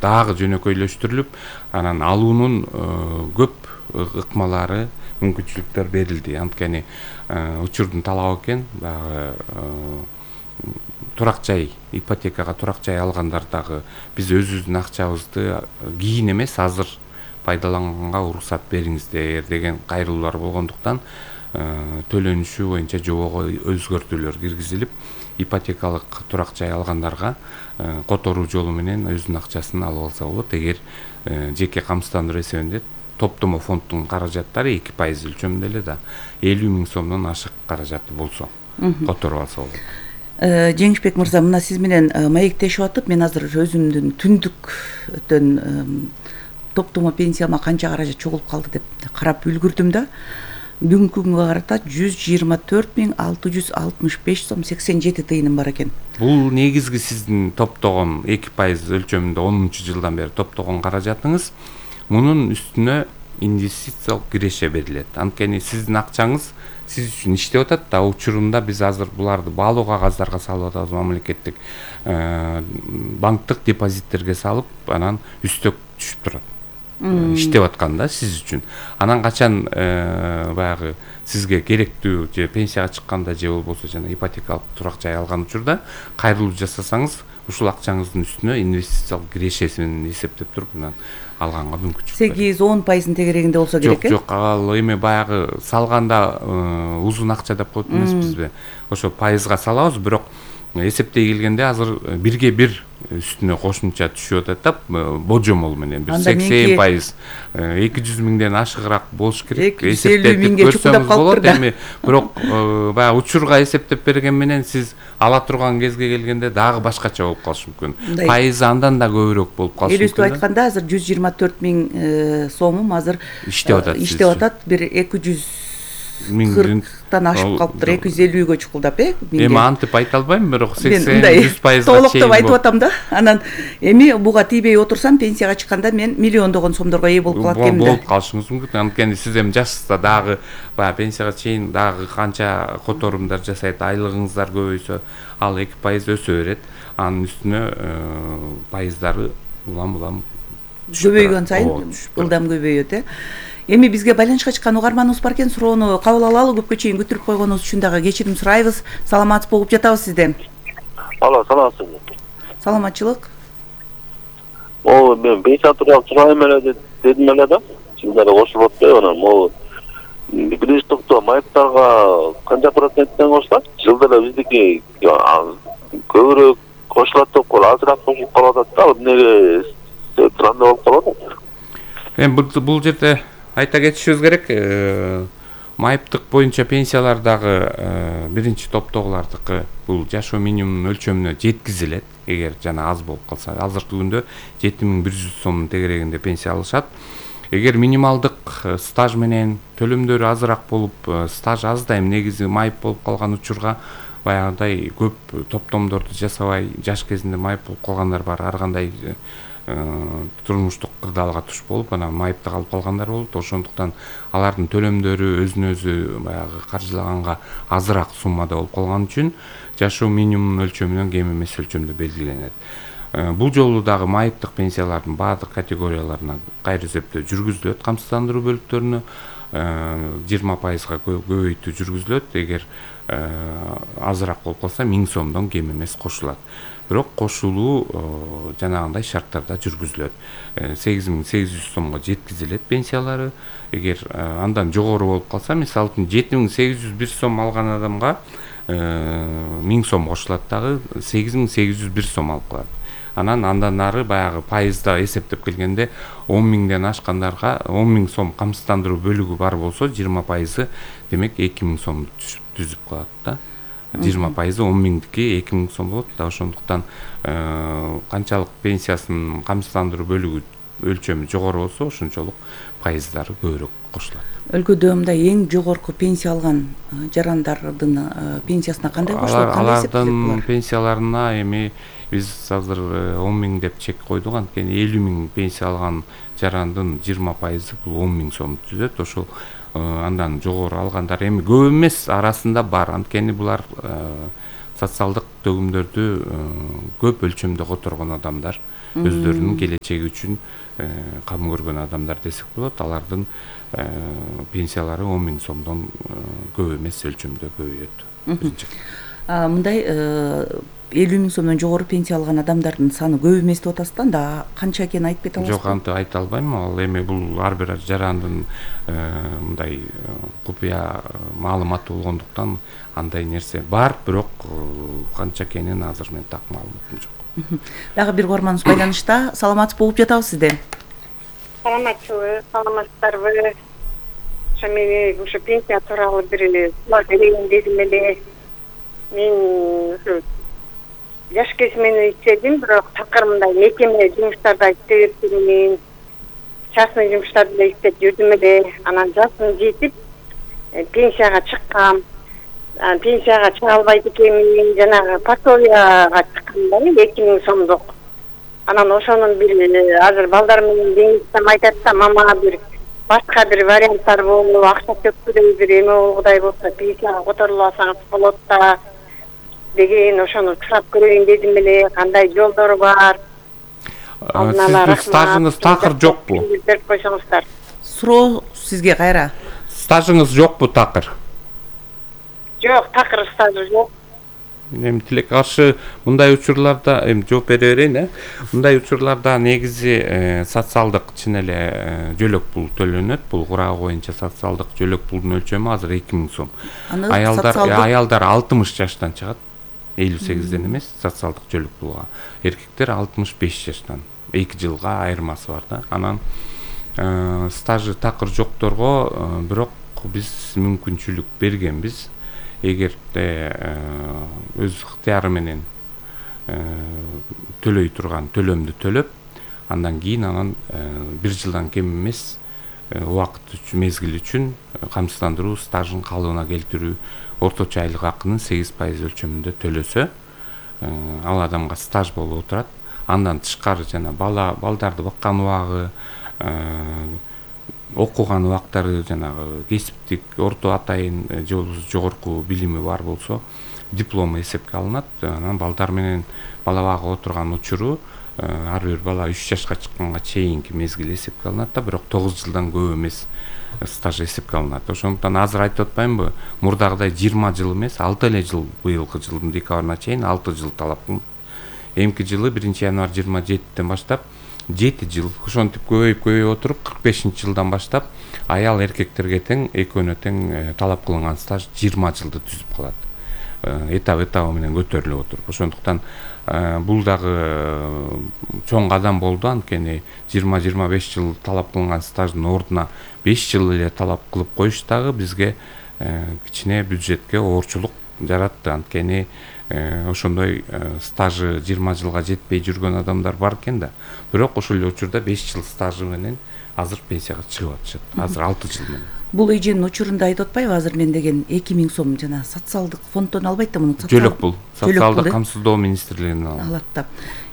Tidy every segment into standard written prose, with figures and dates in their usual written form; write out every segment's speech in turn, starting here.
дагы жөнөкөйлөштүрүлүп, анан алуунун көп ыкмалары, мүмкүнчүлүктөр берилди. Анткени учурдун талабы экен, баягы турак жай, ипотекага турак жай алгандар дагы биз өзүбүздүн акчабызды кийин эмес, азыр пайдаланганга уруксат бериңиздер деген кайрылуулар болгондуктан төлөнүшү боюнча жобого өзгөртүүлөр киргизилип, ипотекалык турак жай алгандарга которуу жолу менен өзүнүн акчасын алып алса болот. Эгер жеке камсыздандыруу эсебинде топтомо фонддун каражаттары 2% өлчөмүндө эле да 50 000 сомдон ашык каражаты болсо которуп алса болот. Жеңишбек мырза, мына сиз менен маектешип атып, мен азыр өзүмдүн түндүктөн топтомо пенсияма канча каражат чогулуп калды деп карап үлгүрдүм да. Бүгүнкү күнгө карата 124.665 сом 87 тыйыным бар экен. Бул негизги сиздин топтогон 2% өлчөмүндө 10-жылдан бери топтогон каражатыңыз. Мунун үстүнө инвестициялык киреше берилет. Анткени сиздин акчаңыз сиз үчүн иштеп атат да, учурунда биз азыр буларды баалуу кагаздарга салып атабыз, мамлекеттик банктык депозиттерге салып, анан үстөк түшүп турат. Иштеп атканда сиз үчүн. Анан качан баягы сизге керектүү же пенсияга чыкканда же болбосо жана ипотекалык турак жай алган учурда кайрылуу жасасаңыз, ушул акчаңыздын үстүнө инвестициялык кирешесин эсептеп туруп, анан алганга мүмкүнчүлүк. 8-10% тегерегинде болсо керек. Жок, ал эме баягы салганда узун акча деп коет эмеспизби? Ошо пайызга салабыз, бирок эсептей келгенде азыр 1/1 үстүнө кошумча түшүп атат да, божомол менен 80%, 200 000ден ашыгыраак болуш керек. Эсептеп көрсөңүз болот. Эми бирок баягы учурга эсептеп берген менен сиз ала турган кезге келгенде дагы башкача болуп калышы мүмкүн. Пайызы андан да көбүрөөк болуп калышы мүмкүн. Элестип айтканда, азыр 124.000 сомум азыр иштеп атат. Бир 240 ашып калыптыр, 250гө чукулдап, Эми антип айта албайм, бирок 80-100% толуктап айтып атам да. Анан эми буга тийбей отурсам, пенсияга чыкканда мен миллиондогон сомдорго ээ болуп калат экенмин да. Болуп калышыңыз мүмкүн. Анткени сиз эми жашсызда дагы баягы пенсияга чейин дагы канча которумдар жасайт, айлыгыңыздар көбөйсө, ал 2% өсө берет. Анын үстүнө пайыздары улам көбөйгөн сайын ылдам көбөйөт. Эми бизге байланышка чыккан угарманыбыз бар экен, суроону кабыл алалы. Көпкө чейин күтүрүп койгонубуз үчүн дагы кечирим сурайбыз. Саламатсыз болуп жатабыз сизден. Алло, саламатсызбы? Саламатчылык. Мен пенсия тууралуу сурайм эле дедим эле да. Жылдары кошулуп атпайбы анан могу биринчи топтоо майыптарга канча проценттен кошулат? Жылда эле биздики көбүрөөк кошулат деп коелу, азыраак кошулуп калып атат да. Эмнеге андай болуп калып атат? Эми бул жерде айта кетишибиз керек, майыптык боюнча пенсиялар дагы биринчи топтогулардыкы бул жашоо минимумунун өлчөмүнө жеткизилет. Эгер жана аз болуп калса, азыркы күндө 7100 сомдун тегерегинде пенсия алышат. Эгер минималдык стаж менен төлөмдөрү азыраак болуп, стаж аздайм негизи майып болуп калган учурга баягындай көп топтомдорду жасабай, жаш кезинде майып болуп калгандар бар. Ар кандай турмуштук кырдаалга туш болуп, анан майыпты калып калгандар болот. Ошондуктан алардын төлөмдөрү өзүнө өзү баягы каржылаганга азыраак суммада болуп калган үчүн жашоо минимумунун өлчөмүнөн кем эмес өлчөмдө белгиленет. Бул жолу дагы майыптык пенсиялардын баардык категорияларына кайра эсептөө жүргүзүлөт, камсыздандыруу бөлүктөрүнө 20%га көбөйтүү жүргүзүлөт. Эгер азыраак болуп калса 1000 сомдон кем эмес кошулат. Бирок кошулуу жанагындай шарттарда жүргүзүлөт. 8800 сомго жеткизилет пенсиялары. Эгер андан жогору болуп калса, мисалы үчүн 7801 сом алган адамга 1000 сом кошулат дагы 8801 сом алып калат. Андан ары баягы пайызда эсептеп келгенде 10.000ден ашкандарга 10.000 сом камсыздандыруу бөлүгү бар болсо 20%, демек 2000 сом түзүп калат да. 20% 10.000дики 2000 сом болот да. Ошондуктан канчалык пенсиясынын камсыздандыруу бөлүгү өлчөмү жогору болсо, ошончолук пайыздары көбүрөөк кошулат. Өлкөдө мындай эң жогорку пенсия алган жарандардын пенсиясына кандай кошулат? Алардын пенсияларына эми биз азыр 10.000 деп чек койдук. Анткени 50.000 пенсия алган жарандын 20% бул 10.000 сом түзөт. Ошол андан жогору алгандар эми көп эмес, арасында бар. Анткени булар социалдык төгүмдөрдү көп өлчөмдө которгон адамдар. өздөрүнүн келечеги үчүн кам көргөн адамдар десек болот. Алардын пенсиялары 10 000 сомдон көп эмес өлчөмдө көбөйөт. Мындай 50 000 сомдон жогору пенсия алган адамдардын саны көп эмес деп атасыз да, анда канча экенин айтып кете аласызбы? Жок, антип айта албайм. Ал эми бул ар бир жарандын мындай купуя маалыматы болгондуктан андай нерсе бар, бирок канча экенин азыр мен так маалыматым жок. Дагы бир угарманыбыз байланышта. Саламатсыз болуп жатабыз сизде. Саламатсызбы, саламатсыздарбы. Ошо мени ушу пенсия тууралуу бир суроо берейин дедим эле. Мен жаш кезимден иштедим, бирок такыр мындай мекеме жумуштарда иштеп жүрмүн. Частный жумуштарда да иштеп жүрдүм эле. Анан жашым жетип, пенсияга чыккам. Пенсияга чыга албайт экенмин, жанагы пособияга чыккам да, 2 000 сомдук. Анан ошонун бир азыр балдар менен кеңештем айтат да, мама бир башка бир варианттар болуп, акча төккүдөй бир эме болгудай болсо пенсияга которула алсаңыз болот да деген, ошону сурап көрөйүн дедим эле. Кандай жолдору бар? Сиздин стажыңыз такыр жокпу? Берип койсоңуздар. Суроо сизге кайра. Стажыңыз жокпу такыр? Жок, такыр стажы жок. Эми тилек каршы мындай учурларда эми жооп бере берейин. Мындай учурларда негизи социалдык чын эле жөлөк пул төлөнөт. Бул курагы боюнча социалдык жөлөк пулдун өлчөмү азыр 2 000 сом. Аялдар 60 жаштан чыгат. 58ден эмес социалдык жөлөк пулга. Эркектер 65 жаштан. 2 жылга айырмасы бар да. Анан стажы такыр жокторго бирок биз мүмкүнчүлүк бергенбиз. Эгерде өз ыктыяры менен төлөй турган төлөмдү төлөп, андан кийин 1 жылдан кем эмес убакыт үчүн, мезгил үчүн камсыздандыруу стажын калыбына келтирүү орточо айлык акынын 8% өлчөмүндө төлөсө, ал адамга стаж болуп отурат. Андан тышкары жана балдарды баккан убагы, окуган убактары, жанагы кесиптик орто атайын же болбосо жогорку билими бар болсо диплому эсепке алынат. Анан балдар менен бала багага отурган учуру ар бир бала 3 жашка чыкканга чейинки мезгил эсепке алынат да, бирок 9 жылдан көп эмес стаж эсепке алынат. Ошондуктан азыр айтып атпаймынбы, мурдагыдай 20 жыл эмес, 6 эле жыл, быйылкы жылдын декабрына чейин 6 жыл талап кылынат. Эмки жылы 1-январь 27-тен баштап 7 жыл, ошентип көбөйүп отуруп 45-жылдан баштап аял эркектерге тең, экөөнө тең талап кылынган стаж 20 жылды түзүп калат. Этап менен көтөрүлүп отуруп. Ошондуктан бул дагы чоң кадам болду. Анткени 20-25 жыл талап кылынган стаждын ордуна 5 жыл эле талап кылып коюш дагы бизге кичине бюджетке оорчулук жаратты. Анткени ошондой стажы 20 жылга жетпей жүргөн адамдар бар экен да. Бирок ошол эле учурда 5 жыл стажы менен азыр пенсияга чыгып атышат. Азыр 6 жыл менен. Бул эженин учурунда айтып атпайбы, азыр мен деген 2 000 сом жана социалдык фонддон албайт да, муну жөлөк пул, социалдык камсыздоо министрлигинен алат да.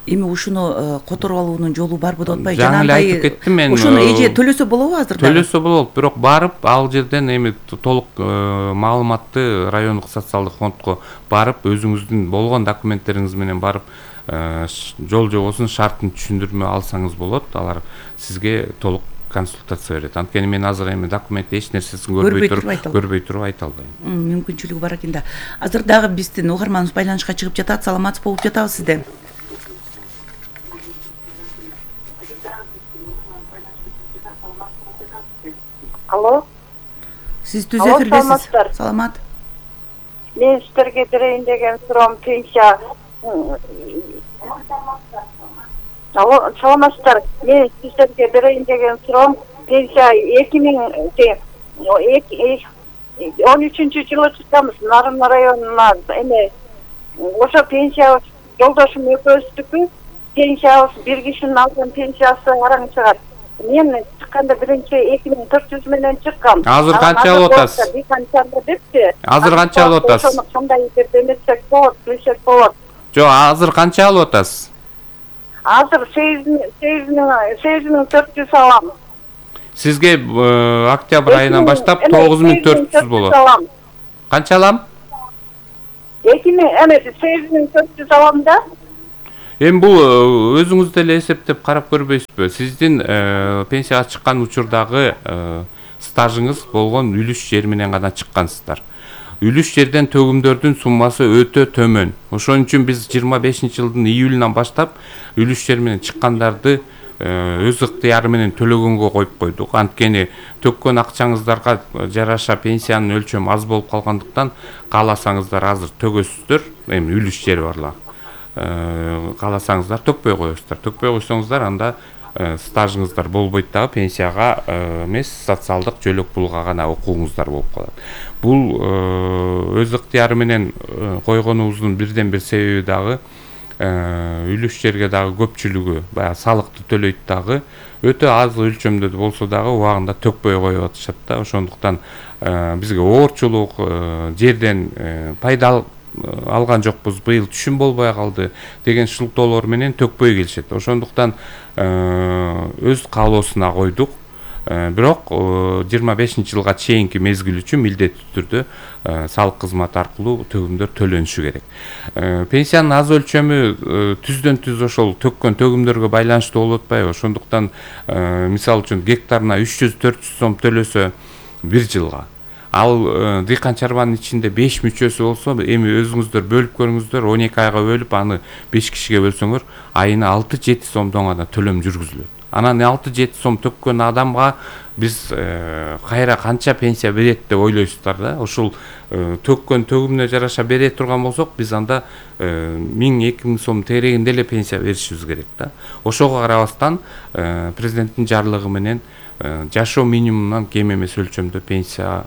Эми ушуну которуп алуунун жолу барбы деп атпайбы? Жаңы эле айтып кеттим мен. Ошону эже төлөсө болобу азыр? Төлөсө болот, бирок барып ал жерден эми толук маалыматты райондук социалдык фондко барып, өзүңүздүн болгон документтериңиз менен барып жол жобосунун шартын түшүндүрмө алсаңыз болот. Алар сизге толук консультация берет. Анткени мен азыр эми документ эч нерсесин көрбөй туруп айта албайм. Мүмкүнчүлүгү бар экен да. Азыр дагы биздин угарманыбыз байланышка чыгып жатат. Саламатсыз болуп жатабыз сизде. Алло. Сиз түз эфирдесиз. Саламат. Мен сиздерге берейин деген суроом пенсия. Алло, саламатсыздар. Мен сиздерге берейин деген суроом пенсия 2013-жылы чыкканбыз Нарын районуна. Эми ошо пенсия жолдошум экөөбүздүкү. Пенсиябыз бир кишинин алган пенсиясы араң чыгат. Мен чыкканда биринчи 2400 менен чыккам. Азыр канча алып атасыз? Азыр канча алып атасыз? Ошону кандай бир деметсек болот, билсек болот. Жок, азыр канча алып атасыз? Азыр 8400 алам. Сизге октябрь айынан баштап 9400 болот. Канча алам? 8400 алам да. Эми бул өзүңүз деле эсептеп карап көрбөйсүзбү? Сиздин пенсияга чыккан учурдагы стажыңыз болгон үлүш жер менен гана чыккансыздар. Үлүш жерден төгүмдөрдүн суммасы өтө төмөн. Ошон үчүн биз 25-жылдын июлунан баштап үлүш жер менен чыккандарды өз ыктыяры менен төлөгөнгө коюп койдук. Анткени төккөн акчаңыздарга жараша пенсиянын өлчөмү аз болуп калгандыктан кааласаңыздар азыр төгөсүздөр. Эми үлүш жери барлар. Кааласаңыздар төкпөй коесуздар. Төкпөй койсоңуздар анда стажыңыздар болбойт дагы, пенсияга эмес, социалдык жөлөк пулга гана укугуңуздар болуп калат. Бул өз ыктыяры менен койгонубуздун бирден бир себеби дагы үлүш жерге дагы көпчүлүгү баягы салыкты төлөйт дагы, өтө аз өлчөмдө болсо дагы убагында төкпөй коюп атышат да. Ошондуктан бизге оорчулук, жерден пайда алган жокпуз, быйыл түшүм болбой калды деген шылтоолор менен төкпөй келишет. Ошондуктан өз каалоосуна койдук. Бирок 25-жылга чейинки мезгил үчүн милдеттүү түрдө салык кызматы аркылуу төгүмдөр төлөнүшү керек. Пенсиянын аз өлчөмү түздөн түз ошол төккөн төгүмдөргө байланыштуу болуп атпайбы? Ошондуктан мисалы үчүн гектарына 300-400 сом төлөсө бир жылга, ал дыйкан чарбанын ичинде 5 мүчөсү болсо, эми өзүңүздөр бөлүп көрүңүздөр, 12 айга бөлүп аны 5 кишиге бөлсөңөр, айына 6-7 сомдон гана төлөм жүргүзүлөт. Анан 6-7 сом төккөн адамга биз кайра канча пенсия берет деп ойлойсуздар да. Ошол төккөн төгүмүнө жараша бере турган болсок, биз анда 1000-2000 сом тегерегинде эле пенсия беришибиз керек да. Ошого карабастан президенттин жарлыгы менен жашоо минимумунан кем эмес өлчөмдө пенсия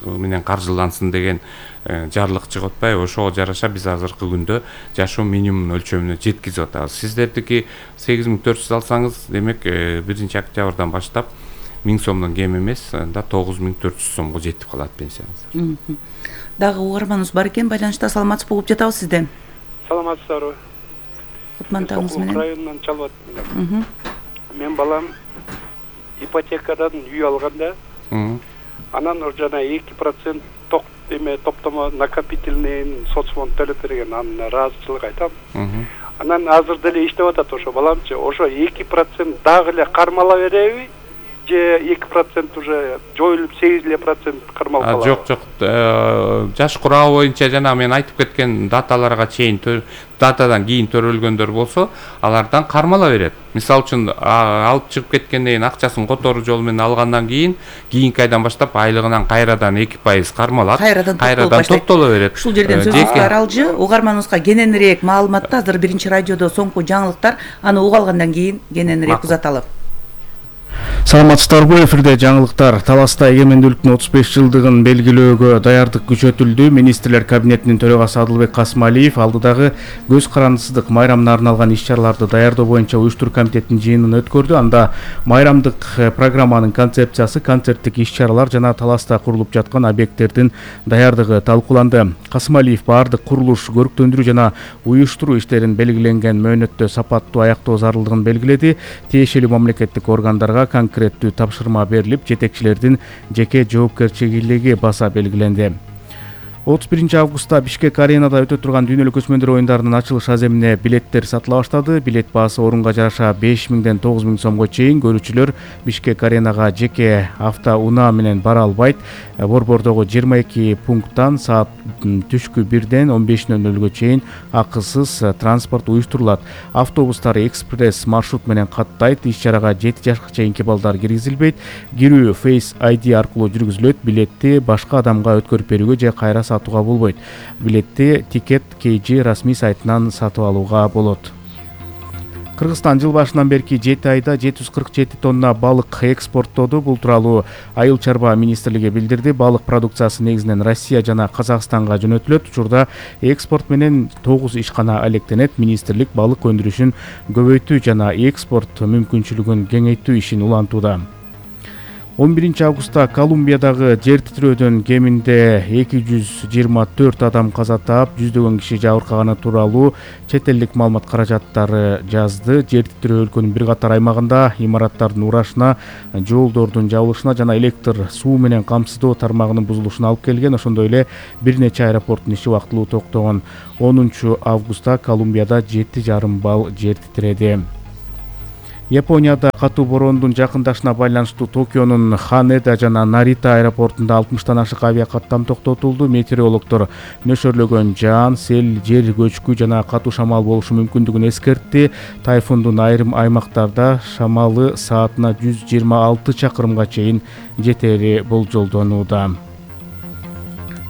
менен каржылансын деген жарлык чыгып атпайбы? Ошого жараша биз азыркы күндө жашоо минимумунун өлчөмүнө жеткизип атабыз. Сиздердики 8400 алсаңыз, демек 1-октябрдан баштап 1000 сомдон кем эмес, анда 9400 сомго жетип калат пенсияңыздар. Дагы угарманыбыз бар экен, байланышта. Саламатсызбы, угуп жатабыз сизден. Саламатсыздарбы? Кутмандыгыңыз менен. Районунан чалып атам. Мен балам ипотекадан үй алганда, анан жана 2% топтомо накопительный соцфонд төлөп берген, анын ыраазычылык айтам. Анан азыр деле иштеп атат ошо баламчы. Ошо 2% дагы эле кармала береби? Же 2% уже жоюлуп 8% кармалып калат? Жок, жаш курабы боюнча жана мен айтып кеткен даталарга чейин, датадан кийин төрөлгөндөр болсо, алардан кармала берет. Мисалы үчүн алып чыгып кеткенден кийин акчасын которуу жолу менен алгандан кийинки айдан баштап айлыгынан кайрадан 2% кармалат, кайрадан топтоло берет. Ушул жерден сөзүңүз аралжы, угарманыбызга кененирээк маалыматты азыр биринчи радиодо соңку жаңылыктар, аны угуп алгандан кийин кененирээк узаталы. Саламатсыздарбы, эфирде жаңылыктар. Таласта эгемендүүлүктүн 35 жылдыгын белгилөөгө даярдык күчөтүлдү. Министрлер кабинетинин төрагасы Адылбек Касымалиев алдыдагы көз карандысыздык майрамына арналган иш-чараларды даярдоо боюнча уюштуруу комитетинин жыйынын өткөрдү. Анда майрамдык программанын концепциясы, концерттик иш-чаралар жана таласта курулуп жаткан объекттердин даярдыгы талкууланды. Касымалиев баардык курулуш, көрктөндүрүү жана уюштуруу иштерин белгиленген мөөнөттө сапаттуу аяктоо зарылдыгын белгиледи. Тиешелүү мамлекеттик органдарга конкреттүү тапшырма берилип, жетекчилердин жеке жоопкерчилиги баса белгиленди. 31 августта Бишкек аренада өтө турган дүйнөлүк өсмөндөр оюндарынын ачылыш аземине билеттер сатыла баштады. Билет баасы орунга жараша 5000ден 9000 сомго чейин. Көрүүчүлөр Бишкек аренага жеке автоунаа менен бара албайт. Борбордогу 22 пункттан саат түшкү 1ден 15:00 чейин акысыз транспорт уюштурулат. Автобустар экспресс маршрут менен каттайт. Иш-чарага 7 жашка чейинки балдар киргизилбейт. Кирүү Face ID аркылуу жүргүзүлөт. Билетти башка адамга өткөрүп берүүгө же кайра сатууга болбойт. Билетти Ticket KG расмий сайтынан сатып алууга болот. Кыргызстан жыл башынан берки 7 айда 747 тонна балык экспорттоду. Бул тууралуу Айыл чарба министрлиги билдирди. Балык продукциясы негизинен Россия жана Казакстанга жөнөтүлөт. Учурда экспорт менен 9 ишкана алектенет. Министрлик балык өндүрүшүн көбөйтүү жана экспорт мүмкүнчүлүгүн кеңейтүү ишин улантууда. 11 августта Колумбиядагы жер титирөөдөн кеминде 224 адам каза таап, жүздөгөн киши жабыркаганы тууралуу чет элдик маалымат каражаттары жазды. Жер титирөө өлкөнүн бир катар аймагында имараттардын урашына, жолдордун жабылышына жана электр суу менен камсыздоо тармагынын бузулушуна алып келген. Ошондой эле бир нече аэропорттун иши вактылуу токтогон. 10 августта Колумбияда 7,5 балл жер титиреди. Японияда катуу бороондун жакындашына байланыштуу Токионун Ханеда жана Нарита аэропортунда 60тан ашык авиакаттам токтотулду. Метеорологдор нөшөрлөгөн жаан, сел, жер көчкү жана катуу шамал болушу мүмкүндүгүн эскертти. Тайфундун айрым аймактарда шамалы саатына 126 чакырымга чейин жетери болжолдонууда.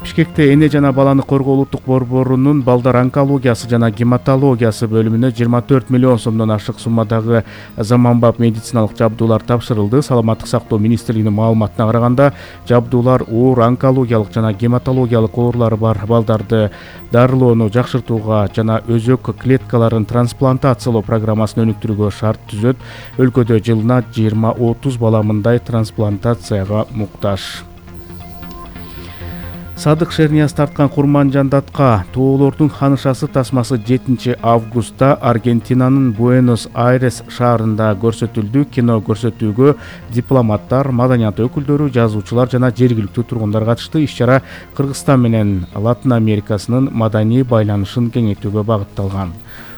Бишкекте эне жана баланы коргоо улуттук борборунун балдар онкологиясы жана гематологиясы бөлүмүнө 24 миллион сомдон ашык суммадагы заманбап медициналык жабдуулар тапшырылды. Саламаттык сактоо министрлигинин маалыматына караганда, жабдуулар оор онкологиялык жана гематологиялык оорулары бар балдарды дарылоону жакшыртууга жана өзөк клеткаларын трансплантациялоо программасын өнүктүрүүгө шарт түзөт. Өлкөдө жылына 20-30 бала мындай трансплантацияга муктаж. Садык Шернияз тарткан Курманжандатка тоолордун ханышасы тасмасы 7 августта Аргентинанын Буэнос-Айрес шаарында көрсөтүлдү. Кино көрсөтүүгө дипломаттар, маданият өкүлдөрү, жазуучулар жана жергиликтүү тургундар катышты. Иш-чара Кыргызстан менен Латын Америкасынын маданий байланышын кеңейтүүгө багытталган.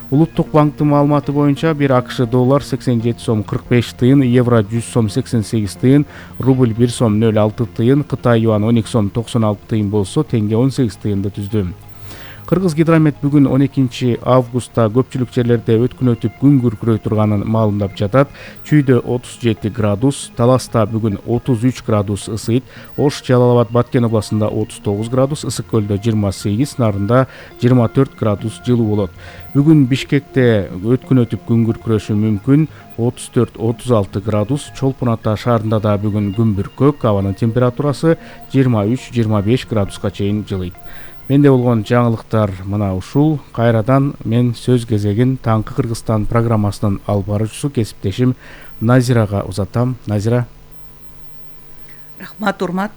Улуттук банктын маалыматы боюнча бир АКШ доллар 87 сом 45 тыйын, евро 100 сом 88 тыйын, рубль 1 сом 06 тыйын, Кытай юан 12 сом 96 тыйын болсо, теңге 18 тыйынды түздү. Кыргыз гидромет бүгүн 12 августта көпчүлүк жерлерде өткүн өтүп күн күркүрөй турганын маалымдап жатат. Чүйдө 37 градус, Таласта бүгүн 33 градус ысыйт, Ош, Жалал Абад, Баткен областында 39 градус, Ысык көлдө 28, Нарында 24 градус жылуу болот. Бүгүн Бишкекте өткүн өтүп күн күркүрөшү мүмкүн, 34-36 градус, Чолпон Ата шаарында да бүгүн күн бүркөк, абанын температурасы 23-25 градуска чейин жылыйт. Менде болгон жаңылыктар мына ушул. Кайрадан мен сөз кезегин Таңкы Кыргызстан программасынын алып баруучусу кесиптешим Назирага узатам. Назира. Рахмат, урмат.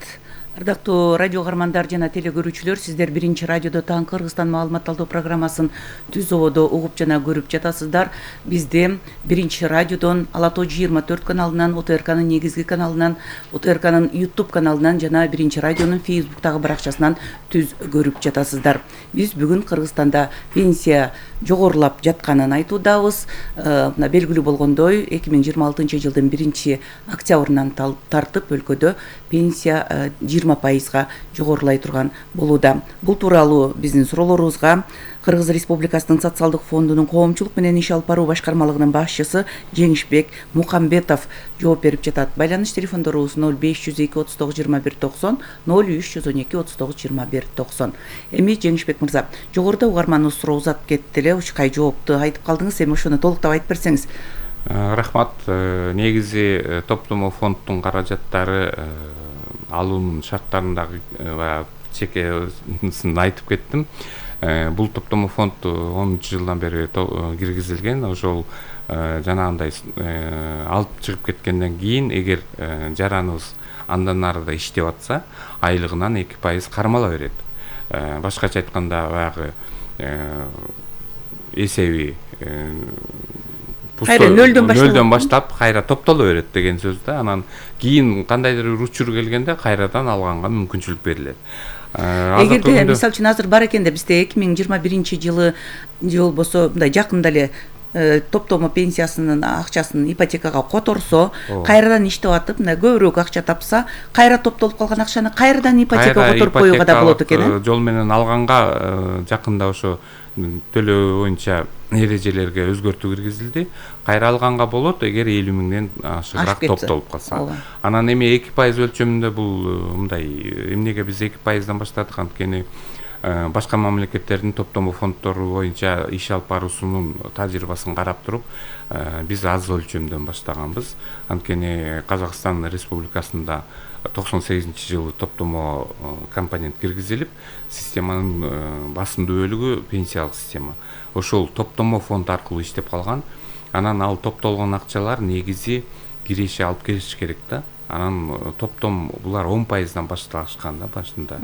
Ардактуу радио каармандар жана телекөрүүчүлөр, сиздер биринчи радиодо Таңкы Кыргызстан маалымат алуу программасын түз ободо угуп жана көрүп жатасыздар. Бизде биринчи радиодон Ала Тоо 24 каналынан, ОТРКнын негизги каналынан, ОТРКнын YouTube каналынан жана биринчи радионун Facebooktагы баракчасынан түз көрүп жатасыздар. Биз бүгүн Кыргызстанда пенсия жогорулап жатканын айтуудабыз. Мына белгилүү болгондой, 2026 жылдын 1 октябрынан тартып өлкөдө пенсия 20% жогорулай турган болууда. Бул тууралуу биздин суроолорубузга Кыргыз Республикасынын социалдык фондунун коомчулук менен иш алып баруу башкармалыгынын башчысы Жеңишбек Мукамбетов жооп берип жатат. Байланыш телефондорубуз 0502 39 21 90, 0312 39 21 90. Эми Жеңишбек мырза, жогоруда угарманыбыз суроо узатып кетти эле, учкай жоопту айтып калдыңыз, эми ошону толуктап айтып берсеңиз. Рахмат. Негизи топтомо фонддун каражаттары алуунун шарттарындагы чекесин айтып кеттим. Бул топтомо фонд 10 жылдан бери киргизилген. Ошол жанагындай алып чыгып кеткенден кийин, эгер жараныбыз андан арыда иштеп атса, айлыгынан 2% кармала берет. Башкача айтканда, баягы эсеби нөлдөн баштап кайра топтоло берет деген сөз да. Анан кийин кандайдыр бир учур келгенде кайрадан алганга мүмкүнчүлүк берилет. Эгерде мисалы үчүн азыр бар экенде бизде 2021 жылы же болбосо мындай жакында эле топтомо пенсиясынын акчасын ипотекага которсо, кайрадан иштеп атып, мына көбүрөөк акча тапса, кайра топтолуп калган акчаны кайрадан ипотекага которуп коюуга да болот экен. Жол менен алганга жакында ошо төлөө боюнча эрежелерге өзгөртүү киргизилди. Кайра алганга болот, эгер 50 миңден ашыгыраак топтолуп калса. Анан эми 2% өлчөмүндө бул мындай, эмнеге биз 2%дан баштадык, анткени башка мамлекеттердин топтомо фонддору боюнча иш алып баруусунун тажрыйбасын карап туруп, биз аз өлчөмдөн баштаганбыз. Анткени Казакстан Республикасында 98-жылы топтомо компонент киргизилип, системанын басымдуу бөлүгү пенсиялык система. Ошол топтомо фонд аркылуу иштеп калган. Анан ал топтолгон акчалар негизи киреше алып келиш керек да. анан топтом булар 10%дан башташкан да башында.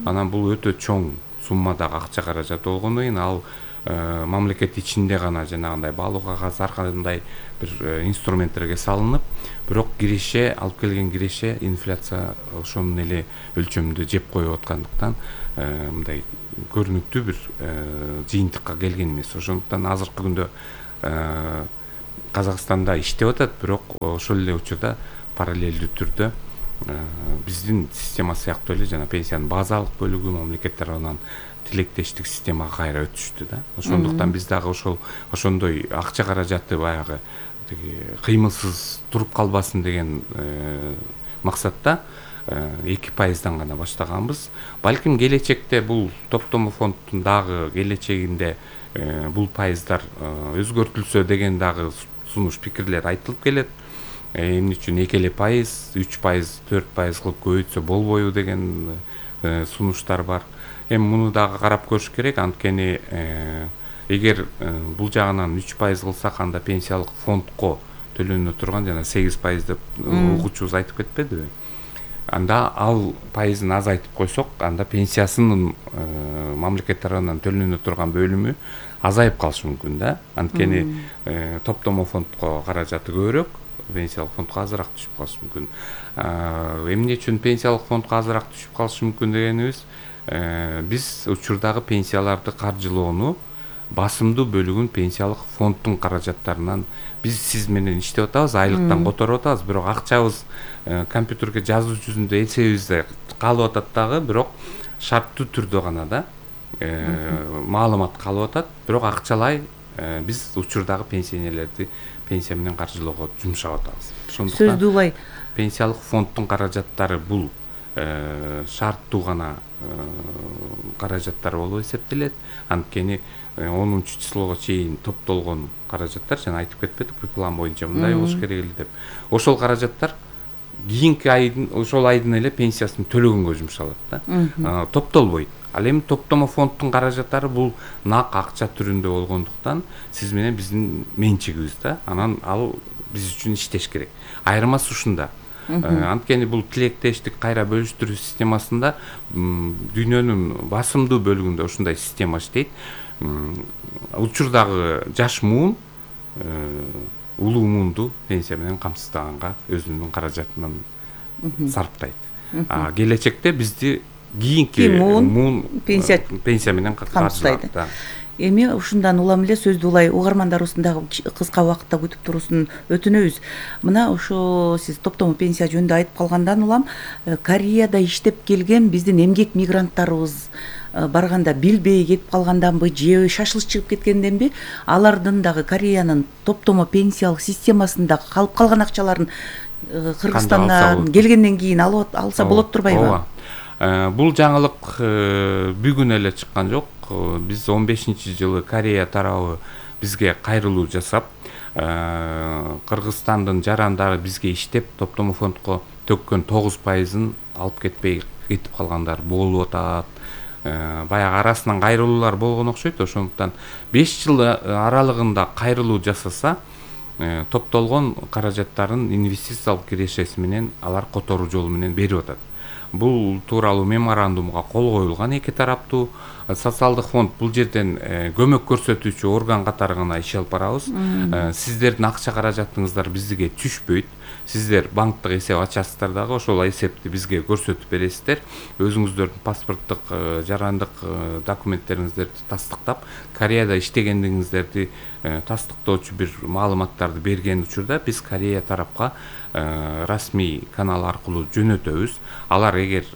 Анан бул өтө чоң суммадагы акча каражат болгондон кийин ал мамлекет ичинде гана жанагындай баалуу кагаз ар кандай бир инструменттерге салынып, бирок киреше алып келген киреше инфляция ошонун эле өлчөмүндө жеп коюп аткандыктан мындай көрүнүктүү бир жыйынтыкка келген эмес. Ошондуктан азыркы күндө Казакстанда иштеп атат, бирок ошол эле учурда параллелдүү түрдө биздин система сыяктуу эле жана пенсиянын базалык бөлүгү мамлекет тарабынан тилектештик системага кайра өтүштү да. Ошондуктан биз дагы ошондой акча каражаты баягы кыймылсыз туруп калбасын деген максатта 2%дан гана баштаганбыз. Балким келечекте бул топтомо фонддун дагы келечегинде бул пайыздар өзгөртүлсө деген дагы сунуш пикирлер айтылып келет. Эмне үчүн 2%, 3%, 4% кылып көбөйтсө болбойбу деген сунуштар бар. Эми муну дагы карап көрүш керек. Анткени эгер бул жагынан 3% кылсак, анда пенсиялык фондко төлөнө турган жана 8% деп угуучубуз айтып кетпедиби? Анда ал пайызын азайтып койсок, анда пенсиясынын мамлекет тарабынан төлөнө турган бөлүмү азайып калышы мүмкүн да. Анткени топтомо фондко каражаты көбүрөөк, пенсиялык фондко азыраак түшүп калышы мүмкүн. Эмне үчүн пенсиялык фондко азыраак түшүп калышы мүмкүн дегенибиз, биз учурдагы пенсияларды каржылоону басымдуу бөлүгүн пенсиялык фонддун каражаттарынан сиз менен иштеп атабыз, айлыктан которуп атабыз, бирок акчабыз компьютерге жазуу жүзүндө эсебибизде калып атат дагы, бирок шарттуу түрдө гана да маалымат калып атат, бирок акчалай биз учурдагы пенсионерлерди пенсия менен каржылоого жумшап атабыз. Ошондуктан сөздү улай пенсиялык фонддун каражаттары бул шарттуу гана каражаттар болуп эсептелет. Анткени 10-числого чейин топтолгон каражаттар, жана айтып кетпедик, план боюнча мындай болуш керек эле деп. Ошол каражаттар кийинки айдын, ошол айдын эле пенсиясын төлөгөнгө жумшалат да. Топтолбойт. Ал эми топтомо фонддун каражаттары бул нак акча түрүндө болгондуктан сиз менен биздин менчигибиз да. Анан ал биз үчүн иштеш керек. Айырмасы ушунда. Анткени бул тилектештик кайра бөлүштүрүү системасында дүйнөнүн басымдуу бөлүгүндө ушундай система иштейт. Учурдагы жаш муун улуу муунду пенсия менен камсыздаганга өзүнүн каражатынан сарптайт. Келечекте бизди кийинки муун пенсия менен камсыздайт. Эми ушундан улам эле сөздү улай угармандарыбыздын дагы кыска убакытта күтүп туруусун өтүнөбүз. Мына ошо сиз топтомо пенсия жөнүндө айтып калгандан улам Кореяда иштеп келген биздин эмгек мигранттарыбыз барганда билбей кетип калганданбы же шашылыш чыгып кеткенденби, алардын дагы Кореянын топтомо пенсиялык системасында калып калган акчаларын Кыргызстандан келгенден кийин алса болот турбайбы? Бул жаңылык бүгүн эле чыккан жок. Биз 15-жылы Корея тарабы бизге кайрылуу жасап, Кыргызстандын жарандары бизге иштеп топтомо фондко төккөн 9%-ын алып кетпей кетип калгандар болуп атат. Баягы арасынан кайрылуулар болгон окшойт. Ошондуктан 5 жыл аралыгында кайрылуу жасаса, топтолгон каражаттарын инвестициялык кирешеси менен алар которуу жолу менен берип атат. Бул тууралуу меморандумга кол коюлган эки тараптуу. Социалдык фонд бул жерден көмөк көрсөтүүчү орган катары гана иш алып барабыз. Сиздердин акча каражатыңыздар бизге түшпөйт. Сиздер банктык эсеп ачасыздар дагы, ошол эсепти бизге көрсөтүп бересиздер. Өзүңүздөрдүн паспорттук, жарандык документтериңиздерди тастыктап, Кореяда иштегендигиңиздерди тастыктоочу бир маалыматтарды берген учурда биз Корея тарапка расмий канал аркылуу жөнөтөбүз. Алар эгер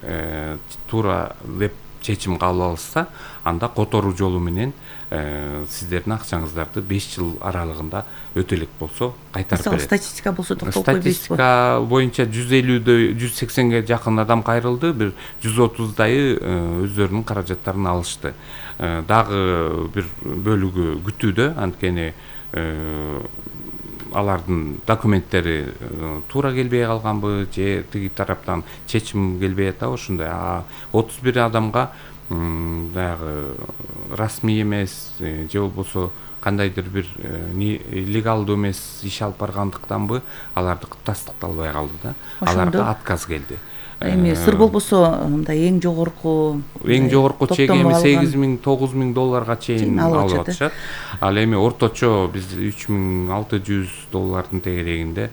туура деп чечим кабыл алышса, анда которуу жолу менен сиздердин акчаңыздарды 5 жыл аралыгында өтөлүк болсо кайтарып берет. Статистика болсо токтолуп койбойсузбу? Статистика боюнча 150-дө 180ге жакын адам кайрылды, бир 130дайы өздөрүнүн каражаттарын алышты. Дагы бир бөлүгү күтүүдө, анткени алардын документтери туура келбей калганбы же тиги тараптан чечим келбей атабы, ушундай. 31 адамга баягы расмий эмес же болбосо кандайдыр бир легалдуу эмес иш алып баргандыктанбы алардыкы тастыкталбай калды да. Аларга отказ келди. Эми сыр болбосо мындай эң жогорку чек эми $8,000–9,000 чейин алып атышат. Ал эми орточо биз $3,600 тегерегинде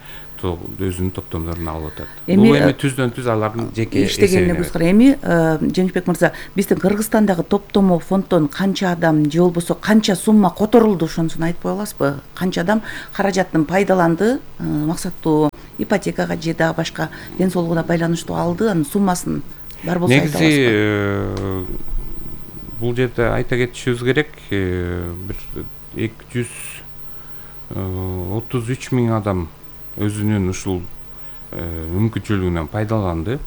өзүнүн топтомдорун алып атат. Бул эми түздөн түз алардын жеке иштегенине көз карай. Эми Жеңишбек мырза, биздин Кыргызстандагы топтомо фонддон канча адам же болбосо канча сумма которулду, ошонусун айтып кое аласызбы? Канча адам каражатын пайдаланды, максаттуу ипотекага же дагы башка ден соолугуна байланыштуу алды, анын суммасын бар болсо айта аласызбы? Негизи бул жерде айта кетишибиз керек, бир 233 миң адам өзүнүн ушул мүмкүнчүлүгүнөн пайдаланды.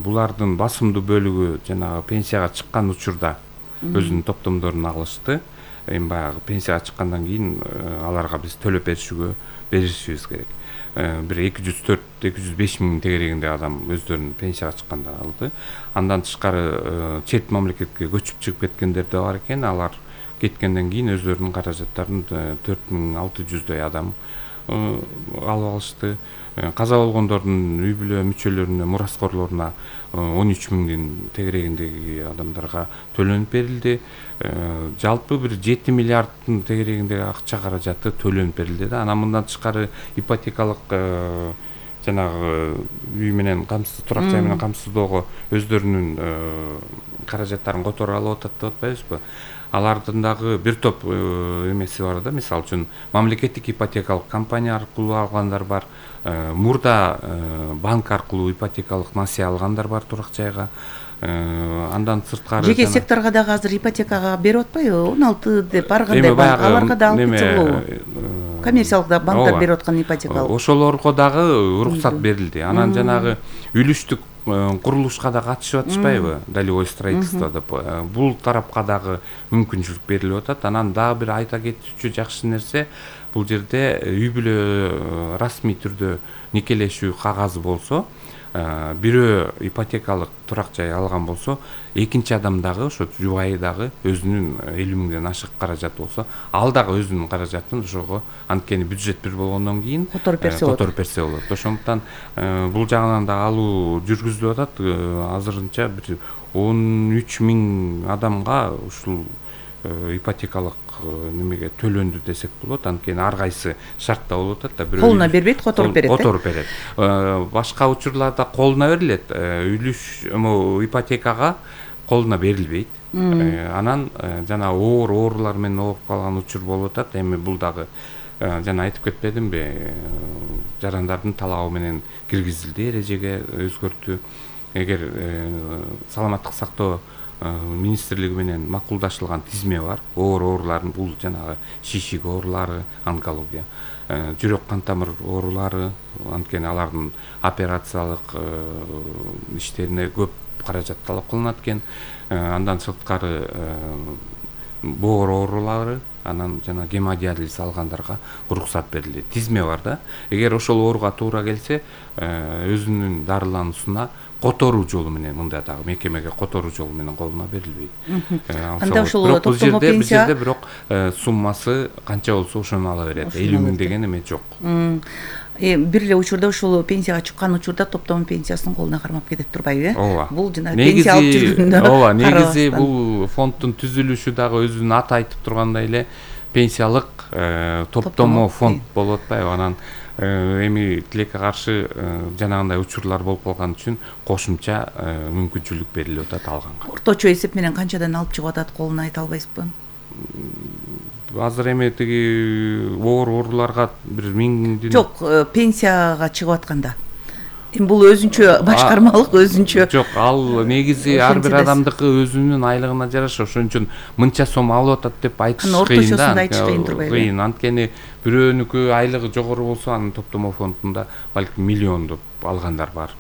Булардын басымдуу бөлүгү жанагы пенсияга чыккан учурда өзүнүн топтомдорун алышты. Эми баягы пенсияга чыккандан кийин аларга биз төлөп беришибиз керек. Бир 204–205 миң тегерегинде адам өздөрүнүн пенсияга чыкканда алды. Андан тышкары чет мамлекетке көчүп чыгып кеткендер да бар экен. Алар кеткенден кийин өздөрүнүн каражаттарын 4600 адам алып алышты. Каза болгондордун үй бүлө мүчөлөрүнө, мураскорлоруна 13 миңдин тегерегиндеги адамдарга төлөнүп берилди. Жалпы бир 7 миллиарддын тегерегиндеги акча каражаты төлөнүп берилди да. Анан мындан тышкары ипотекалык жанагы үй менен камсыз, турак жай менен камсыздоого өздөрүнүн каражаттарын которуп алып атат деп атпайбызбы? Алардын дагы бир топ эмеси бар да. Мисалы үчүн мамлекеттик ипотекалык компания аркылуу алгандар бар. Мурда банк аркылуу ипотекалык насыя алгандар бар турак жайга. Андан сырткары жеке секторго дагы азыр ипотекага берип атпайбы? 16 деп баргандай банк аларга да алып кетсе болобу? Коммерциялык да банктар берип аткан ипотекалык. Ошолорго дагы уруксат берилди. Анан жанагы үлүштүк курулушка да катышып атышпайбы? Долевой строительство деп. Бул тарапка дагы мүмкүнчүлүк берилип атат. Анан дагы бир айта кетүүчү жакшы нерсе, бул жерде үй бүлө расмий түрдө никелешүү кагазы болсо, бирөө ипотекалык турак жай алган болсо, экинчи адам дагы ошо жубайы дагы өзүнүн 50 миңден ашык каражат болсо, ал дагы өзүнүн каражатын ошого, анткени бюджет бир болгондон кийин которуп берсе болот. Ошондуктан бул жагынан да алуу жүргүзүлүп атат. Азырынча бир 13 миң адамга ушул ипотекалык немеге төлөндү десек болот. Анткени ар кайсы шартта болуп атат да. Колуна бербейт, которуп берет. Которуп берет. Башка учурларда колуна берилет. Ипотекага колуна берилбейт. Анан жана оорулар менен ооруп калган учур болуп атат. Эми бул дагы жана айтып кетпедимби? Жарандардын талабы менен киргизилди, эрежеге өзгөртүү. Эгер саламаттык сактоо министрлиги менен макулдашылган тизме бар. Оорулардын бул жанагы шишик оорулары, онкология, жүрөк кан тамыр оорулары, анткени алардын операциялык иштерине көп каражат талап кылынат экен. Андан сырткары боор оорулары, анан жана гемодиализ алгандарга уруксат берилди. Тизме бар да. Эгер ошол ооруга туура келсе, өзүнүн дарылануусуна которуу жолу менен, мында дагы мекемеге которуу жолу менен колуна берилбейт. Анда ошол топтомо пенсия бул жерде бирок суммасы канча болсо ошону ала берет. 50 миң деген эме жок. Бир эле учурда ушул пенсияга чыккан учурда топтомо пенсиясынын колуна кармап кетет турбайбы? Ооба. Бул жана пенсия алып жүргөндө. Ооба, негизи бул фонддун түзүлүшү дагы өзүнүн аты айтып тургандай эле пенсиялык топтомо фонд болуп атпайбы? Анан эми тилекке каршы жанагындай учурлар болуп калган үчүн кошумча мүмкүнчүлүк берилип атат алганга. Орточо эсеп менен канчадан алып чыгып атат колуна айта албайсызбы? Азыр эми тиги ооруларга бир 1000 жок, пенсияга чыгып атканда. Бул өзүнчө башкармалык, өзүнчө. Жок, ал негизи ар бир адамдыкы өзүнүн айлыгына жараша. Ошон үчүн мынча сом алып атат деп айтыш кыйын да. Кыйын турбайбы? Кыйын, анткени бирөөнүкү айлыгы жогору болсо, анын топтомо фондунда балким миллиондоп алгандар бар.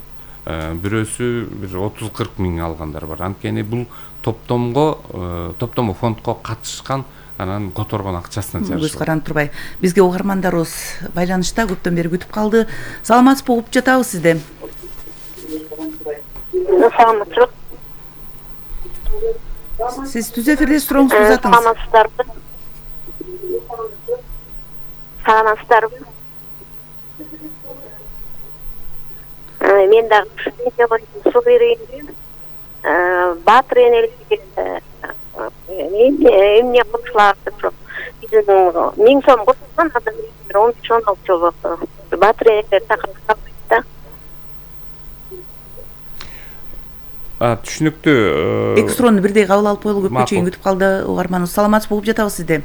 Бирөөсү бир 30–40 миң алгандар бар. Анткени бул топтомо фондко катышкан, анан которгон акчасына жараша. Көз каранып турбай. Бизге угармандарыбыз байланышта көптөн бери күтүп калды. Саламатсызбы, угуп жатабыз сизди. Саламатсызбы. Сиз түз эфирде сурооңузду узатыңыз. Саламатсыздарбы. саламатсыздарбы? Мен дагы пенсия боюнча суу берейин. Батыр энеликке эмне кылышылат деп сурап. Биздин 1000 сом курган адам 15-16 жыл болду. Батыр энелер чакырып да. Түшүнүктүү. Эки суроону бирдей кабыл алып коелу, көпкө чейин күтүп калды угарманыбыз. Саламатсыз болуп жатабыз сизде.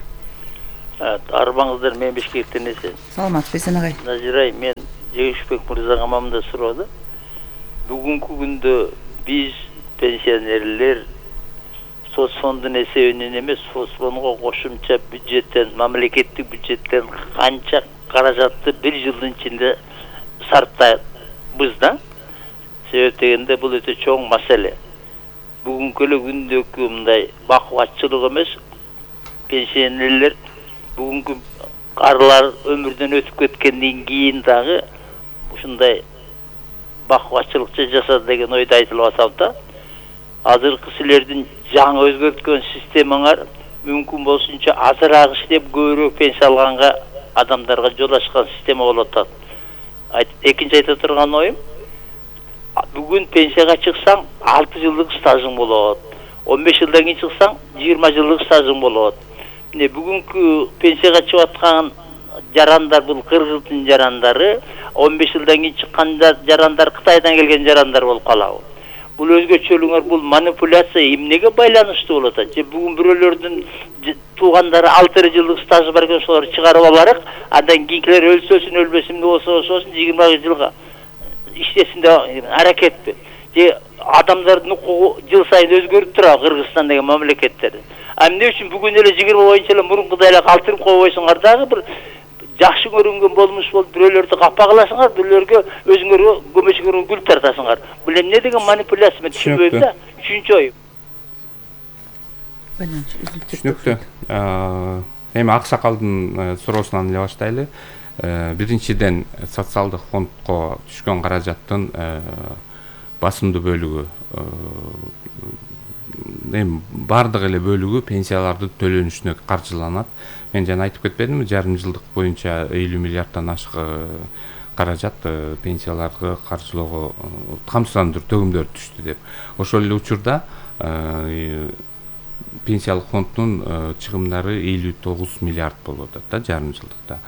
Арбаңыздар, мен Бишкектен эсен. Саламатсыз Эсен агай. Назирай, мен Жегишбек мырзага мамда сурооду. Бүгүнкү күндө биз пенсионерлер соцфондун эсебинен эмес, соцфондго кошумча бюджеттен, мамлекеттик бюджеттен канча каражатты бир жылдын ичинде сарптайбыз да. Себеп дегенде бул өтө чоң маселе. Бүгүнкү эле күндөгү мындай бакубатчылык эмес, пенсионерлер бүгүнкү карлар өмүрдөн өтүп кеткенден кийин дагы ушундай бакубатчылыкчы жасады деген ойду айтылып атат да. Азыркы силердин жаңы өзгөрткөн системаңар мүмкүн болсунча азыраак иштеп көбүрөөк пенсия алганга адамдарга жол ачкан система болуп атат. Экинчи айта турган оюм, бүгүн пенсияга чыксаң 6 жылдык стажың болот. 15 жылдан кийин чыксаң 20 жылдык стажың болот. Міне бүгүнкү пенсияга чыгып аткан жарандар, бул кыргыздын жарандары, 15 жылдан кийин чыккан жарандар Кытайдан келген жарандар болуп калабы. Бул өзгөчөлүгөр, бул манипуляция эмнеге байланыштуу болот? Же бүгүн бирөөлөрдүн туугандары 6 жылдык стажы бар экен, ошолор чыгарып аларык, андан кийинкилер өлсөсүн, өлбөсүн, болсун 20 жылга иштесин деп аракетпи. Же адамдардын укугу жыл сайын өзгөрүп турат Кыргызстан деген мамлекеттерде. Эмне үчүн бүгүн эле 20 боюнча эле мурункудай эле калтырып койбойсуңар дагы бир жакшы көрүнгөн болмуш болуп бирөөлөрдү капа кыласыңар, бирөөлөргө өзүңөргө көмөчүңөргө гүл тартасыңар. Бул эмне деген манипуляция, мен түшүнбөйм да. Үчүнчү ой. Түшүнүктүү. Эми Аксакалдын суроосунан эле баштайлы. Биринчиден социалдык фондко түшкөн каражаттын басымдуу бөлүгү, эми бардык эле бөлүгү пенсиялардын төлөнүшүнө каржыланат. Мен жана айтып кетпедимби, жарым жылдык боюнча 50 миллиарддан ашык каражат пенсияларга каржылоого, камсыздандыруу төгүмдөр түштү деп. Ошол эле учурда пенсиялык фонддун чыгымдары 59 миллиард болуп атат да жарым жылдыкта.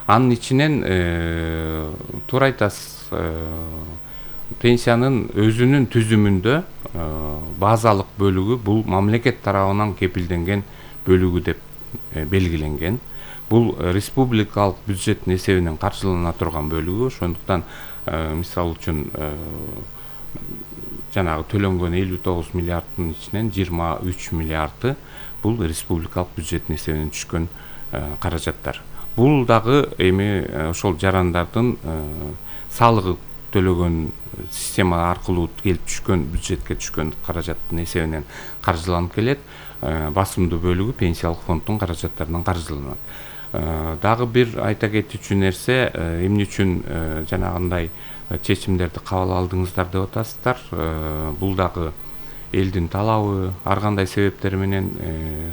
Анын ичинен туура айтасыз, пенсиянын өзүнүн түзүмүндө базалык бөлүгү бул мамлекет тарабынан кепилденген бөлүгү деп белгиленген. Бул республикалык бюджеттин эсебинен каржылана турган бөлүгү. Ошондуктан мисалы үчүн жанагы төлөнгөн 59 миллиарддын ичинен 23 миллиарды бул республикалык бюджеттин эсебинен түшкөн каражаттар. Бул дагы эми ошол жарандардын салыгы төлөгөн система аркылуу келип түшкөн, бюджетке түшкөн каражаттын эсебинен каржыланып келет. Басымдуу бөлүгү пенсиялык фонддун каражаттарынан каржыланат. Дагы бир айта кетүүчү нерсе, эмне үчүн жанагындай чечимдерди кабыл алдыңыздар деп атасыздар. Бул дагы элдин талабы, ар кандай себептер менен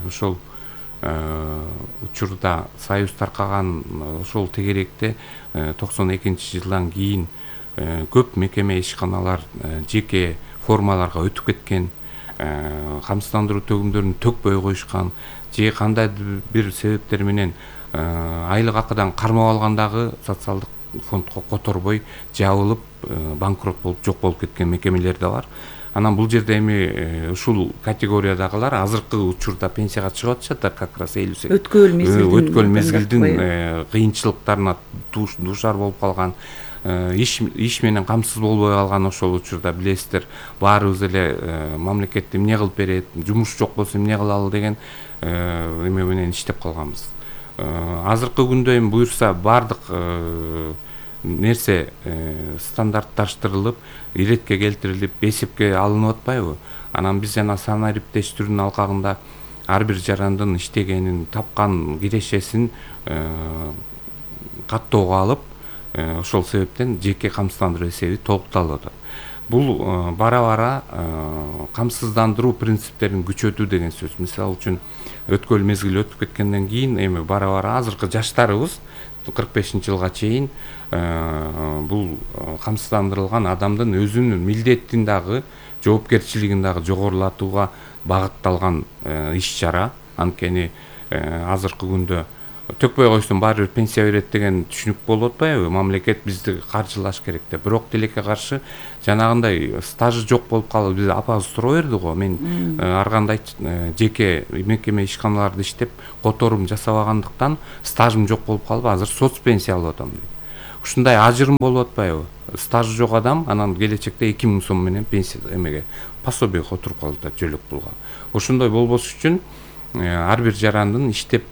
ошол учурда союз таркаган ошол тегеректе 92-жылдан кийин көп мекеме ишканалар жеке формаларга өтүп кеткен, камсыздандыруу төгүмдөрүн төкпөй коюшкан, же кандайдыр бир себептер менен айлык акыдан кармап алгандагы социалдык фондко которбой жабылып банкрот болуп жок болуп кеткен мекемелер да бар. Анан бул жерде эми ушул категориядагылар азыркы учурда пенсияга чыгып атышат, как раз өткөл мезгилдин кыйынчылыктарына дуушар болуп калган, иш менен камсыз болбой калган. Ошол учурда билесиздер, баарыбыз эле мамлекет эмне кылып берет, жумуш жок болсо эмне кылалы деген эме менен иштеп калганбыз. Азыркы күндө эми буюрса бардык нерсе стандартташтырылып, иретке келтирилип, эсепке алынып атпайбы? Анан биз жана санариптештирүүнүн алкагында ар бир жарандын иштегенин, тапкан кирешесин каттоого алып, ошол себептен жеке камсыздандыруу эсеби толукталып атат. Бул бара-бара камсыздандыруу принциптерин күчөтүү деген сөз. Мисалы үчүн өткөл мезгил өтүп кеткенден кийин эми бара-бара азыркы жаштарыбыз 45-жылга чейин бул камсыздандырылган адамдын өзүнүн милдетин дагы жоопкерчилигин дагы жогорулатууга багытталган иш-чара. Анткени азыркы күндө төкпөй койсоң баары бир пенсия берет деген түшүнүк болуп атпайбы? Мамлекет бизди каржылаш керек деп. Бирок тилекке каршы жанагындай стажы жок болуп калып биз апабыз суроо берди го. Мен ар кандай жеке мекеме ишканаларда иштеп которум жасабагандыктан стажым жок болуп калып азыр соц пенсия алып атам дейт. Ушундай ажырым болуп атпайбы? Стажы жок адам анан келечекте 2000 сом менен пенсия эмеге пособиеге отуруп калып атат жөлөк пулга. Ошондой болбош үчүн ар бир жарандын иштеп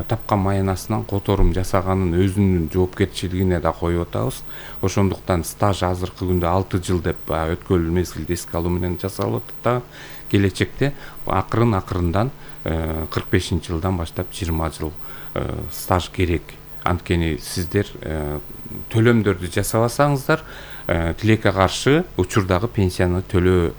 тапкан маянасынан которум жасаганын өзүнүн жоопкерчилигине да коюп атабыз. Ошондуктан стаж азыркы күндө 6 жыл деп өткөн мезгилди эске алуу менен жасалып атат да келечекте акырындан 45-жылдан баштап 20 жыл стаж керек. Анткени сиздер төлөмдөрдү жасабасаңыздар тилекке каршы учурдагы пенсияны төлөө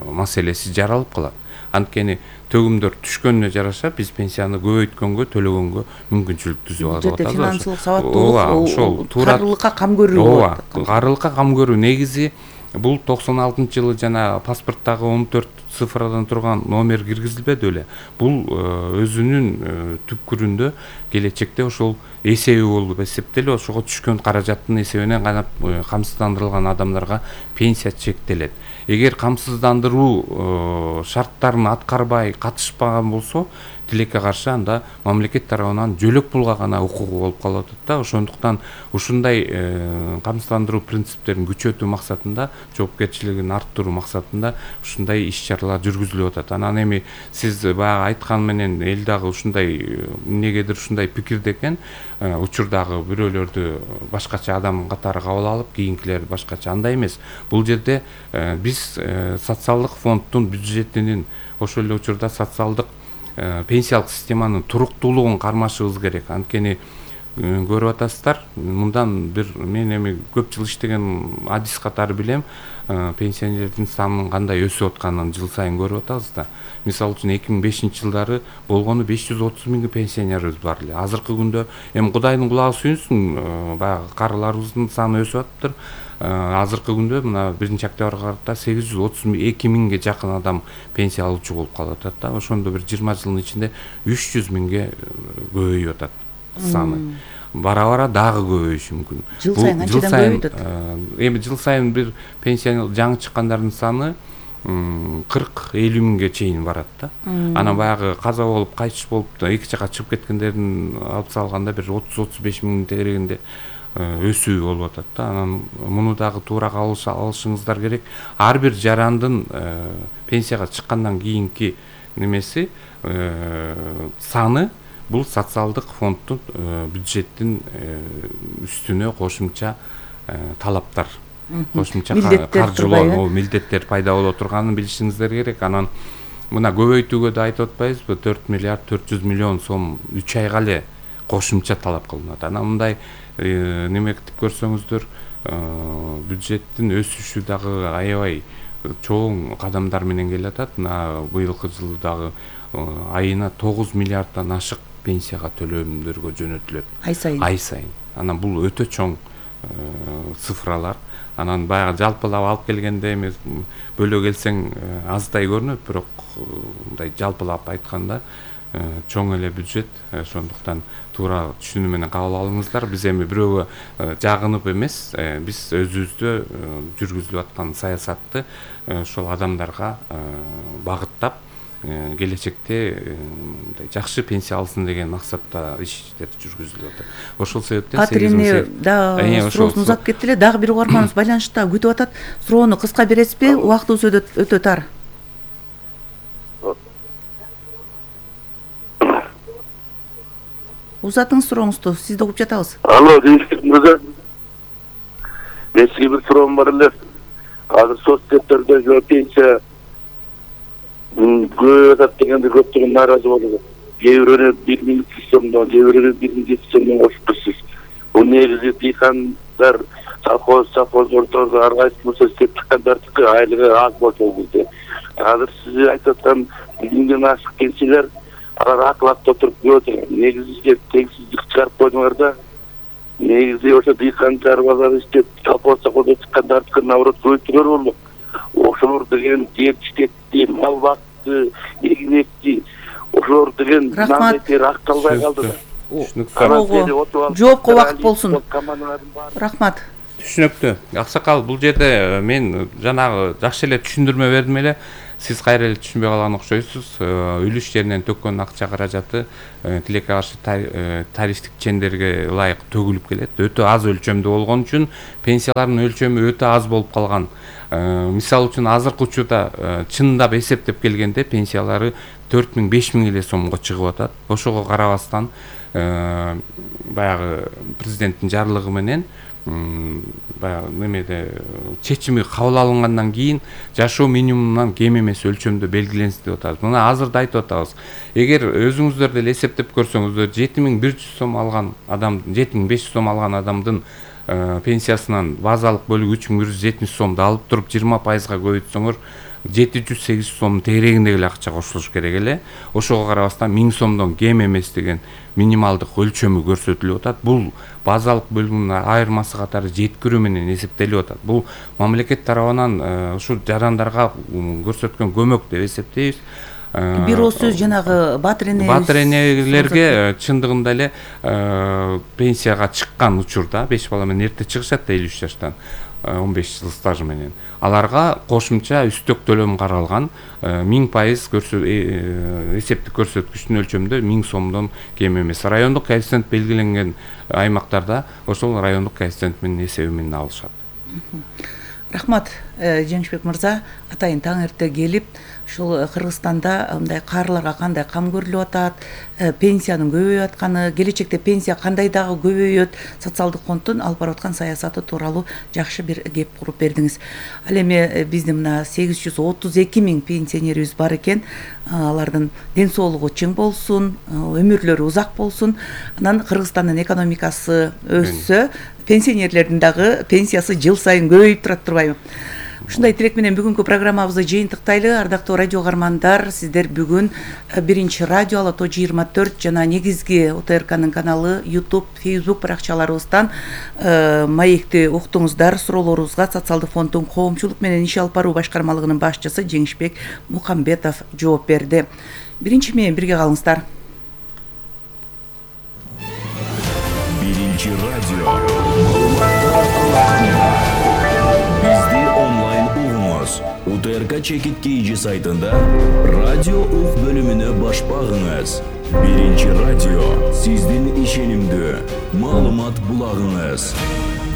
маселеси жаралып калат. Анткени төгүмдөр түшкөнүнө жараша биз пенсияны көбөйткөнгө, төлөгөнгө мүмкүнчүлүк түзүп алып атабыз. Финансылык сабаттуулук, карылыкка кам көрүү. Карылыкка кам көрүү негизи бул 96-жылы жана паспорттагы 14 цифрадан турган номер киргизилбеди беле. Бул өзүнүн түпкүрүндө келечекте ошол эсеби болуп эсептелип, ошого түшкөн каражаттын эсебинен гана камсыздандырылган адамдарга пенсия чектелет. Эгер камсыздандыруу шарттарын аткарбай катышпаган болсо, тилекке каршы анда мамлекет тарабынан жөлөк пулга гана укугу болуп калып атат да. Ошондуктан ушундай камсыздандыруу принциптерин күчөтүү максатында, жоопкерчилигин арттыруу максатында ушундай иш-чаралар жүргүзүлүп атат. Анан эми сиз баягы айткан менен эл дагы ушундай эмнегедир ушундай пикирде экен, учурдагы бирөөлөрдү башкача адам катары кабыл алып, кийинкилерди башкача. Андай эмес. Бул жерде биз социалдык фонддун бюджетинин ошол эле учурда социалдык пенсиялык системанын туруктуулугун кармашыбыз керек. Анткени көрүп атасыздар, мындан бир мен эми көп жыл иштеген адис катары билем, пенсионерлердин санынын кандай өсүп атканын жыл сайын көрүп атабыз да. Мисалы үчүн 2005-жылдары болгону 530 миң пенсионерибиз бар эле. Азыркы күндө эми Кудайдын кулагы сүйүнсүн, баягы карыларыбыздын саны өсүп атыптыр. Азыркы күндө мына 1-октябрга карата 832 миңге жакын адам пенсия алуучу болуп калып атат да. Ошондо бир 20 жылдын ичинде 300 миңге көбөйүп атат саны. Бара-бара дагы көбөйүшү мүмкүн. Жыл сайын анчадан көбөйүп атат. Эми жыл сайын бир пенсия жаңы чыккандардын саны 40-50 миңге чейин барат да. Анан баягы каза болуп, кайтыш болуп, эки жака чыгып кеткендердин алып салганда бир 30-35 миң тегерегинде өсүү болуп атат да. Анан муну дагы туура алышыңыздар керек. Ар бир жарандын пенсияга чыккандан кийинки немеси саны бул социалдык фонддун бюджеттин үстүнө кошумча талаптар, кошумча каржылоо милдеттер пайда боло турганын билишиңиздер керек. Анан мына көбөйтүүгө да айтып атпайбызбы, 4 миллиард 400 миллион сом 3 айга эле кошумча талап кылынат. Анан мындай неме кылып көрсөңүздөр, бюджеттин өсүшү дагы аябай чоң кадамдар менен келе атат. Мына быйылкы жылы дагы айына 9 миллиарддан ашык пенсияга төлөмдөргө жөнөтүлөт. Ай сайын. Анан бул өтө чоң цифралар. Анан баягы жалпылап алып келгенде эми бөлө келсең аздай көрүнөт, бирок мындай жалпылап айтканда чоң эле бюджет. Ошондуктан туура түшүнүү менен кабыл алыңыздар. Биз эми бирөөгө жагынып эмес, биз өзүбүздө жүргүзүлүп аткан саясатты ошол адамдарга багыттап келечекте жакшы пенсия алсын деген максатта иштер жүргүзүлүп атат. Ошол себептен Катрин да суроосун узап кетти эле. Дагы бир угарманыбыз байланышта күтүп атат. Суроону кыска бересизби? Убактыбыз өтө тар. Узатыңыз сурооңузду, сизди угуп жатабыз. Алло, мырза. Мен сизге бир суроом бар эле. Азыр соцсектордогу пенсия көбөйүп атат дегенде көптөгөн нааразы болуп. Кээ бирөөнө 1000 сомдон, кээ бирөөнө 1000 сомдон кошуп турсуз. Бул негизи дыйкандар, совхоздордо ар кайсы болсо иштеп чыккандардыкы айлыгы аз болчу бизде. Азыр сиз айтып аткан 1000ден ашык пенсиялар алар акылаттап туруп көрөт. Негизи теңсиздик чыгарып койдуңар да. негизи ошо дыйкан чарбалар иштеп колхозго колдо чыккандарды наоборот көбөйтүрөр болмок. Ошолор деген жер иштетти, мал бакты, эгин экти. Ошолор деген нан этер акталбай калды да. Жоопко убакыт болсун. Рахмат. Түшүнүктүү. Аксакал, бул жерде мен жанагы жакшы эле түшүндүрмө бердим эле. Сиз кайра эле түшүнбөй калган окшойсуз. Үлү иштеринен төккөн акча каражаты тилекке каршы тарифтик чендерге ылайык төгүлүп келет. Өтө аз өлчөмдө болгон үчүн пенсиялардын өлчөмү өтө аз болуп калган. Мисалы үчүн азыркы учурда чындап эсептеп келгенде пенсиялары 4000-5000 эле сомго чыгып атат. Ошого карабастан баягы президенттин жарлыгы менен баягы немеде чечими кабыл алынгандан кийин жашоо минимумунан кем эмес өлчөмдө белгиленсин деп атабыз. Мына азырда айтып атабыз. Эгер өзүңүздөр деле эсептеп көрсөңүздөр 7100 сом алган адам, 7500 сом алган адамдын пенсиясынан базалык бөлүгү 3170 сомду алып туруп 20%га көбөйтсөңөр 700-800 сом тегерегиндеги эле акча кошулуш керек эле. Ошого карабастан 1000 сомдон кем эмес деген минималдык өлчөмү көрсөтүлүп атат. Бул базалык бөлүгүнүн айырмасы катары жеткирүү менен эсептелип атат. Бул мамлекет тарабынан ушул жарандарга көрсөткөн көмөк деп эсептейбиз. Бир ооз сөз жанагы батыр энелерге чындыгында эле пенсияга чыккан учурда 5 бала менен эрте чыгышат да 53 жаштан 15 жыл стажы менен. Аларга кошумча үстөк төлөм каралган 1000% эсептик көрсөткүчтүн өлчөмүндө 1000 сомдон кем эмес. Райондук коэффициент белгиленген аймактарда ошол райондук коэффициент менен эсеби менен алышат. Рахмат, Жеңишбек мырза, атайын таң эрте келип, ушул Кыргызстанда мындай каарыларга кандай кам көрүлүп атат, пенсиянын көбөйүп атканы, келечекте пенсия кандай дагы көбөйөт, социалдык фонддун алып барып аткан саясаты тууралуу жакшы бир кеп куруп бердиңиз. Ал эми биздин мына 832 000 пенсионерибиз бар экен. Алардын ден соолугу чың болсун, өмүрлөрү узак болсун. Анан Кыргызстандын экономикасы өссө, пенсионерлердин дагы пенсиясы жыл сайын көбөйүп турат турбайбы? Ушундай тилек менен бүгүнкү программабызды жыйынтыктайлы. Ардактуу радио угармандар, сиздер бүгүн биринчи радио Ала-Тоо 24 жана негизги ОТРКнын каналы, YouTube, Facebook баракчаларыбыздан маекти уктуңуздар. Суроолорубузга Социалдык фонддун коомчулук менен иш алып баруу башкармалыгынын башчысы Жеңишбек Мукамбетов жооп берди. Биринчи менен бирге калыңыздар. Биринчи радио. Бизди онлайн угуңуз. УТРК чекит KG сайтында радио ук бөлүмүнө баш багыңыз. Биринчи радио сиздин ишенимдүү маалымат булагыңыз.